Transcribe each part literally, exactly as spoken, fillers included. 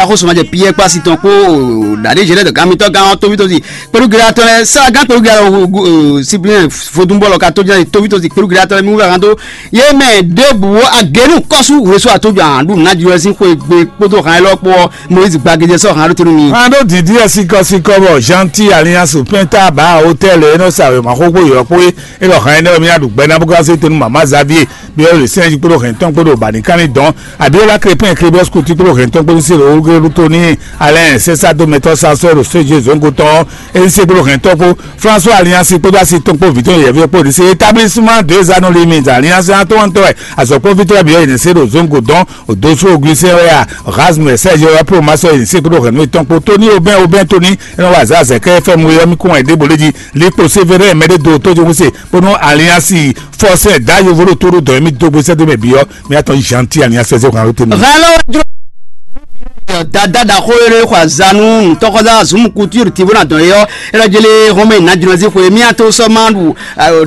Xósùnmajɛ Piyɛ́ɛ kpó asi tɔn kpó ɖaɖézhɛ lɛ́ɛ dɔ gán mitɔ́ gán ɔ́, tóvítósi kpelúgéɖatɔ́ lɛ́ɛ, Saagán kpelúgéɖatɔ́ Siplɛ́n vodúnbɔ́lɔ ka tó jɛ tóvítósi kpelúgéɖatɔ́ lɛ́ɛ mí wú vɛ hán dó yě mɛ ɖěbǔ agěnu kɔ́sú hwesú atójɔ ahan ɖu nǎjlɔ́ sín xwé gbe kpódó han élɔ́ kpó ɔ́, Moyizi gbagéjɛ sɔ́ han ɖó te nú mi. Hán ɖó dǐndín wɛ síkɔ́síkɔ́ bɔ Janti Aliansu Pɛnta Baa Hotɛ́ɛli e nɔ sa wěma xóxó yɔ̌ kpó é, é ɖɔ han énɛ́ wɛ mí ná ɖu gbɛ ná bó ká zé te nú Mama Xavier. Byɔ́ le sɛ́n jí kpódó hɛn tɔn kpódó bǎníkánní dɔn, abiola krepin krébɔs kuti kpódó hɛn tɔn kpódó selo wúgéɖú tóní alɛn sɛsá dó mɛtɔ́ sasɔ́ ɖo séje zɔ̌ngo tɔn, ézísé kpódó hɛn tɔn kpó, françois alliance kpódó asi tɔn kpó vǐtɔn yɛ̌ví kpó ɖi sé établissement deux anneaux limite alliance atɔntɔ wɛ azɔ̌kpɔ́vítɔ́ byɔ́ yě ní sé ɖo zɔ̌ngo dɔn, òdosó augustin wɛ a rasmus sɛ́jɛ wɛ plo masɔ yě ní sé kpódó hɛn nú étɔn kpó tóní obɛn obɛn tóní, é nɔ wa azǎ azɛ̌kɛ́ fm wɛ ɔ́ mí kún wɛn ɖěbǔ lé jí likpo sévérin mɛɖé do tó jí wúse bónú alliance fɔsɛ da yovo ɖo tó ɖo dɔn mí dó gbèsè dó mɛ biyɔ mí atɔn Jean ti alliance fɛsɛ hàn lóte mi. Hɛn lɔ jɔ dada da xó eré xɔ azanu tɔkɔda zum couture ti bó na dɔn yɔ ela jele hɔn mɛ na jɔnɔzi xwe mí ato sɔ ma ɖu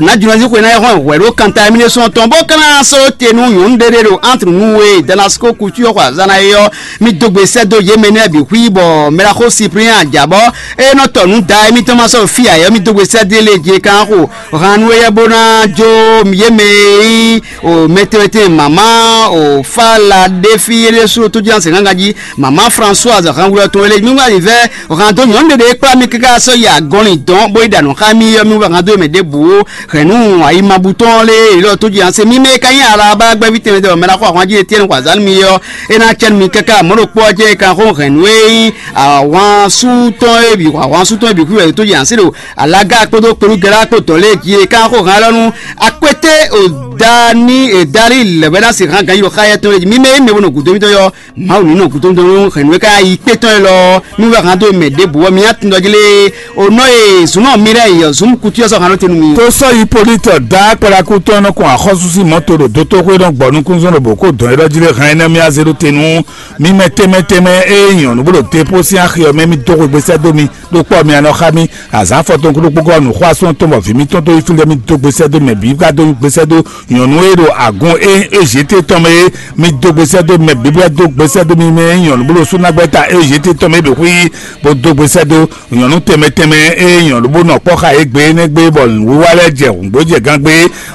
na jɔnɔzi xwe na yɛ hɔn hwɛ ɖo kanta mí ne sɔn tɔn bó kana sɔ te nu nyɔnu ɖe ɖe ɖo entre nu we damasco couture xɔ azana yɔ mí dó gbèsè dó yé mɛ nɛ bi xwi bɔ mɛ la xó cyprien ajabɔ e nɔ tɔ nu da émítɔn ma sɔ fi ayɔ mí dó gbèsè dé lé je kan xo hanu eyɛ bó ná jó yé mɛ e nyí o mɛtɛmɛtɛ mama o fala ɖefi ɖésú tó jí anse gángan jí mama françoise hanwlɔ tɔn lé mímú alivɛ hando nyɔnu ɖeɖe kplá mi káká sɔ yi agɔnlin dɔn bó yi ɖa nǔ xá mi yɔ mi wɛ hando mɛ ɖěbǔ hɛnú ayimabutɔn lé ilɔ tó jí anse mi mɛ ka nyí alaba gbɛvi tɛnmɛ dɛ mɛ la xɔ ahwan jí etiɛnu xɔ azan mi yɔ e ná cɛnu mi káká mɔɖokpɔ jɛ kan xó hɛnú e nyí ahwan sú tɔn e bǐ ahwan sú tɔn e bǐ kú wɛ tó jí anse ɖo alaga kpódó kpelúgɛlá kpó dɔ̌n lé jí e kan xó hɛn alɔ nú akpété o dani e dali lɛ̌bɛ́ ná se hán ganyi ɖo xá yɛ tɔn lé jí mi mɛ e mɛ bo nɔ gǔdo mitɔn yɔ mawu ní nɔ gǔdo mitɔn nú hɛn nú e ka yi kpé tɔn e lɔ nú wɛ hán dó mɛ ɖěbǔ ɔ́ mi ná tun dɔ jí lé o nɔ e zǔn nɔ mi lɛ́ yi ɔ́ zǔn kutu yɔ sɔ hán nɔ te nú mi. Tó sɔ́ yi polítɔ dá kpalaku tɔn nɔ kɔn axɔ́sú sín mɔto ɖo dótóxwé nɔ gbɔ nukúnzɔ́n ɖo bǒ kó dɔn é ɖɔ jí lé hán énɛ́ mi azé ɖó te nú mi mɛ tɛnmɛ tɛnmɛ e nyɔ̌nu bó ɖo depo sín axi ɔ́ mɛ mi dó xwegbe sɛ́ dó mi ɖó kpɔ́ mi anɔ xá mì. Azǎn afɔtɔn kúɖokpó gɔ́ nǔxwásún tɔn bɔ vǐ mítɔn dó yi fí lɛ́ɛ mì dó gbesɛ́ dó mɛ bǐ ká dó gbesɛ́ dó nyɔ̌nu e ɖo agun e Ezíte tɔn mɛ é, mì dó gbesɛ́ dó mɛ bǐ bɔ é dó gbesɛ́ dó mi mɛ é nyɔ̌nu bó ɖo súnnagbɛ́ta Ezíte tɔn mɛ é ɖo xwí bó dó gbesɛ́ dó nyɔ̌nu tɛnmɛ tɛnmɛ e nyɔ̌nu bó nɔ kpɔ́ xa é gbe énɛ́ gbe bɔ nǔwiwa lɛ́ɛ jɛ hǔngbó jɛ gán gbe.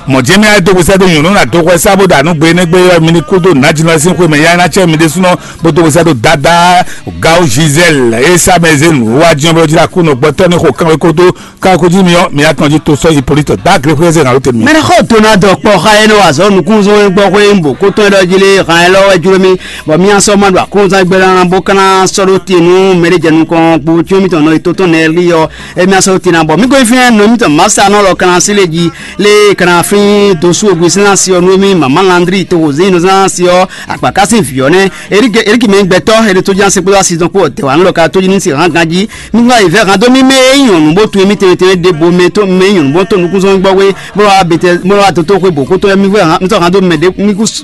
Mɔ̌ jɛ́n mì wá dó gbesɛ́ dó nyɔ̌nu ná dó xwɛ sá bó ɖo anǔ gbe énɛ́ gbe ɔ́ mi ní kú dó nǎjínɔ sín xwe mɛ yá ná cɛ mi ɖésúnɔ bó dó gbesɛ́ dó dáadáa. Gawu Gisèle e sá mɛ zé nǔwiwa jɛ́n bó jí ná kú nɔ gbɔtɔ́ ní xo kánwé kódó káko jí mi ɔ́ mi atɔn jí to sɔ́ Hipólítɔ dó agré xwé zé ná ló te mi. Mɛɖexɔ Donald kpɔ xa e nɔ wa azɔ̌ nukúnzɔ́n gbɔ xwé bǒ kótɔn e ɖɔ jí lé han ɛ lɔ wɛ jló mì bɔ mì sɔ ma ɖo akɔnzán gbɛ ná bó kana sɔ́ ɖó te nú mɛɖé jɛ nukɔn kpo cyɔ́n mitɔn nɔ e tó tɔn nɛ lí ɔ́ e mì sɔ́ ɖó te ná bɔ mì ko fínɛ́ nɔ mitɔn masa nɔ lɔ kana sí lé jí lé kana fín dosú ogbe sín asi ɔ́ nú mì mama Landry to wòzé nɔ zán asi ɔ́ akpaka sín vǐ ɔ́ nɛ́ Eriki mɛ gbɛtɔ́ e ɖo tó jí asi kpódó asi tɔn kpó ɔ̀tɛ̌ wa nú lɔ ka tó jí ní sin hán ganjí. Mí wá yi vɛ́ hán dó mí mɛ e nyí nyɔ̌nu bó tunwun émí tɛnmɛ tɛnmɛ ɖěbǔ mɛ tó mɛ e nyí nyɔ̌nu bó tó nukúnzɔ́n gbɔ wé bó wá bete bó wá dótó xwé bǒ xótó mí vɛ́ hán mí sɔ́ hán dó mɛ ɖě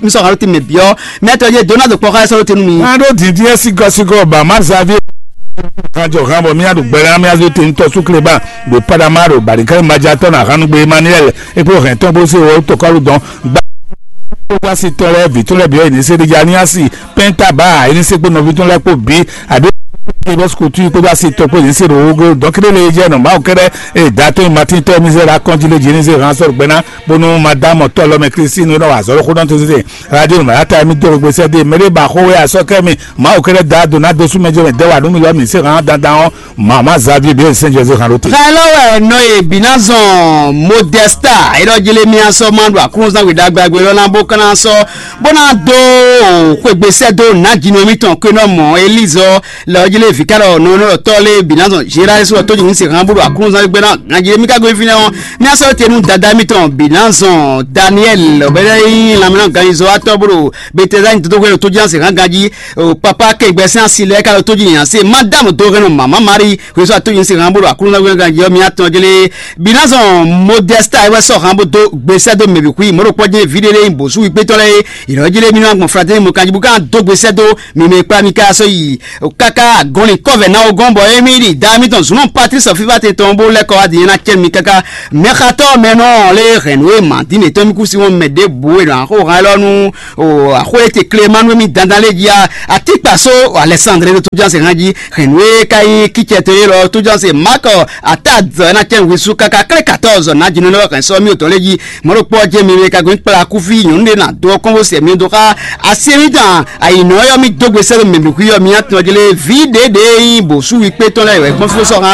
mí sɔ́ hán dó te mɛ byɔ́ mɛ tɔ́ yé Donald kpɔ́ xá ɛ sɔ́ dó te nú mi. Hán ɖó dǐndín ɛ sígɔ́sígɔ́ ba má zaví hán jɔ hán bɔ mí á ɖo gbɛ ná mí á zó te ntɔ́ súkle ba ɖo Panama ɖo bǎlíkà majatɔ́ ná hánúgbé Emmanuel é kpló hɛn tɔn bó sé wɔ tɔkɔ́lù dɔn gba wá sí tɔn lɛ́ɛ vǐ tɔn lɛ́ɛ bǐ ɔ́ yě ní sé ɖíjá ní á sí pɛ́nta bá yě ní sé kpó nɔví tɔn lɛ́ɛ kpó bǐ àbí bɔ́sukútú kpódó asi tɔn kpó yě ní sé ɖo wógó dɔn kéɖé lé jẹ́ nɔ̀bá ɔ́ kɛ́ɖɛ́ eye da tɔn e matín tɔn e mí zé ɖo akɔ́njí lé jí ní zé hán sɔ́ ɖo gbɛ ná bónú madame tɔ́ lɔ mɛ Christine nɔ wà zɔ́ lóxó dɔn tó zé radio nɔ̀bá yá ta mí dó gbé sɛ́ dé mɛ ɖé ba xó wé asɔ́ kɛ́ mi Mawu kɛ́ɖɛ́ da do ná dó sú mɛ jɛ mɛ dɛ́ wà nú mi lɔ mǐ sé hán dandan ɔ́ Mama Xavier bíi sɛn José hàn ló te. Xɛ lɔ wɛ nɔ e bǐ ná zɔn Modesta e ɖɔ Jeremia sɔ ma ɖo aklúnzán we ɖagbe agbe lɔ ná bó ká ná sɔ bó ná dó xwegbe sɛ́ dó nǎjínɔ émítɔn Kwenɔmɔ Elízɔ lɛ ɔ́ jlé vǐ ká ɖɔ nɔ nɔ tɔ́ lé bǐ ná zɔn Zerayɛ́su ɔ́ tó jǐnú se hán bó ɖo aklúnzán gbé ná ganjí émí ka gbe fínɛ́ ɔ́ mía sɔ́ te nú Dadá émítɔn bǐ ná zɔn Daniɛ́li lɔ̌bɛ́ nyí lanmɛnánɔ ganjizɔ́watɔ́ bó ɖo Betɛzani dodóxwé ɖo tójínásě hán ganjí. O papa kɛngbɛ sín asi lɛ́ɛ ka ɖo tójí nyi asi madámu dó hɛn nɔ mama Mari hwesɔ atójí sín hán bó ɖo Aklúnɔ hwɛ ganjí ɔ́ mì atɔn jlé. Binazɔn Modɛsta é wɛ sɔ́ hán bó dó gbesɛ dó mɛ bǐ xwí mɔ̌ ɖo kpɔ́ jɛ́n ví ɖé lé nyi bǒsú wíkpétɔ́ lɛ́ɛ é. Yě nɔ jlé mì nɔ gbɔn fratɛ́ni mɔ kanjí bó ka dó gbesɛ dó mì mɛ e kplá mi ká sɔ́ yi káká agɔ́ Wọ́n ní kɔ́vɛ ná wó gɔ́n bɔ émí ɖi da émítɔn zunú Patrice Fivatɛ tɔn bó lɛ́ kɔ wá din ná cɛ́ mi káká. Mɛxatɔ́ mɛ nɔ lé hɛn nǔ e mǎ dín mǐtɔn mì kú sí wọn mɛ ɖěbǔ e nɔ axó hɛn lɔ nú axó e te klé ma nú émí dandan lé jí a. Atíkpa só Alexandre ɖo tójánse hán jí hɛn nǔ e ka nyí kícɛ to é lɔ tójánse Mark Atad ná cɛ́ wísú káká klé quatorze ná jínú lɔ hɛn sɔ mí òtɔn lé jí. Mɔ̌ ɖokpó ɔ́ jẹ́ mi wé ka gɔ́n kplá kúfí nyɔ̌nu ɖé ná dó ɔ́ kɔn bó sɛ mi dó xá así émítɔn. Ayǐnɔ ɔ́ mi dó gbe sɛ́ mɛ nǔ xwí ɔ́ mi ná tɔn jlé vǐ ɖěɖě e nyí bǒsú wí kpé tɔn lɛ́ɛ wɛ gbɔn fó sɔ́ hán